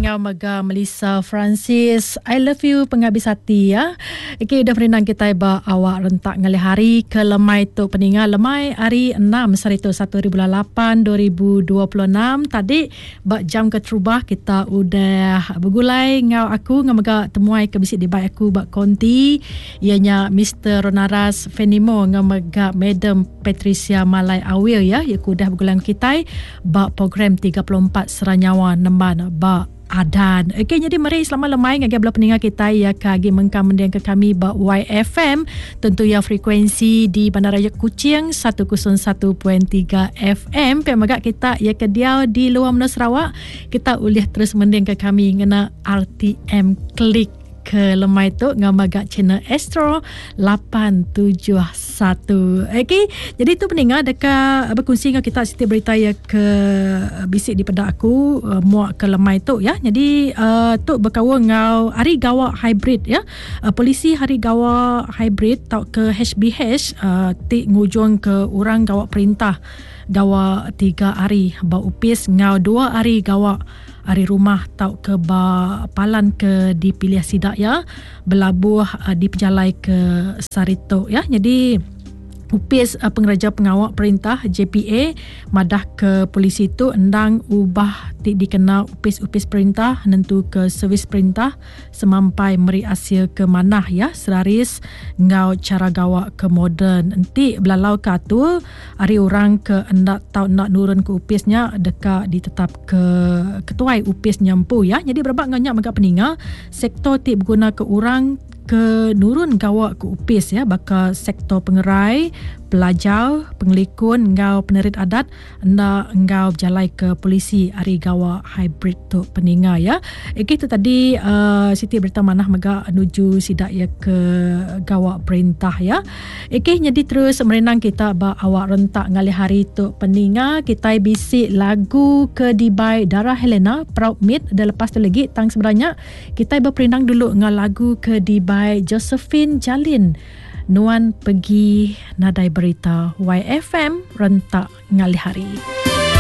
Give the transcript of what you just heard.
ngau mega Melissa Francis. I love you pengabis ati ya. Okey udah perindang kitai ba awak rentak ngalih hari ke lemai tu peninga lemai hari 6 sehari tu 1 hari bulan 8 2026 tadi ba jam keterubah kita udah begulai ngau aku ngau mega temuai ke bisi dibai aku ba konti iya nya Mister Ronaras Fenimo ngau mega Madam Patricia Malai Awil ya iya ke udah begulai ngau kitai ba program 34 Sera Nyawa nemban ba Adan. Okey nyadi meri selamat lemai ngagai bala peninga kitai iya ke agi mengkang mendingka kami ba YFM tentu iya frekuensi di Bandaraya Kuching 101.3 FM pia mega kita iya ke diau di luar menua Sarawak kita ulih terus mendingka kami ngena RTM Click ke lemai tu ngau mega channel Astro 871. Okey, jadi tu peninga deka berkongsi ngau kita siti berita ya ke bisi dipeda aku uh, muak ke lemai tu ya. Jadi uh, tu berkaul ngau hari gawa hybrid ya. Uh, polisi hari gawa hybrid tau ke HBH uh, ti ngujung ke orang gawa perintah gawa tiga hari ba upis ngau dua hari gawa ari rumah tauka ba palan ke dipilih sida iya belabuh dipejalai ke sehari tu ya. Nyadi Opis Pengereja Pengawa Perintah JPA madah ke polisi tu endang ubah ti dikena opis-opis perintah nentuka servis perintah semampai meri asil ke manah ya seraris enggau chara gawa ke moden. Enti belalauka atur ari orang ke enda tau enda nurun ke opis nya deka ditetap ke ketuai opis nya empu ya. Nyadi berebak enggau nya mega peninga sektor ti beguna ke orang ke nurun gawa ke opis ya baka sektor pengerai, pelajar, pengelikun enggau penerit adat enda enggau bejalai ke polisi ari gawa hybrid tu peninga ya. Okey tu tadi uh, siti berita manah mega nuju sida ya ke gawa perintah ya. Okey nyadi terus merindang kita ba awak rentak ngalih hari tu peninga kitai bisi lagu ke dibai Dara Helena Proud Meat dan lepas tu lagi tang sebenarnya kitai beperindang dulu enggau lagu ke dibai Josephine Jalin Nuan Pegi Nadai Berita YFM rentak ngalih hari.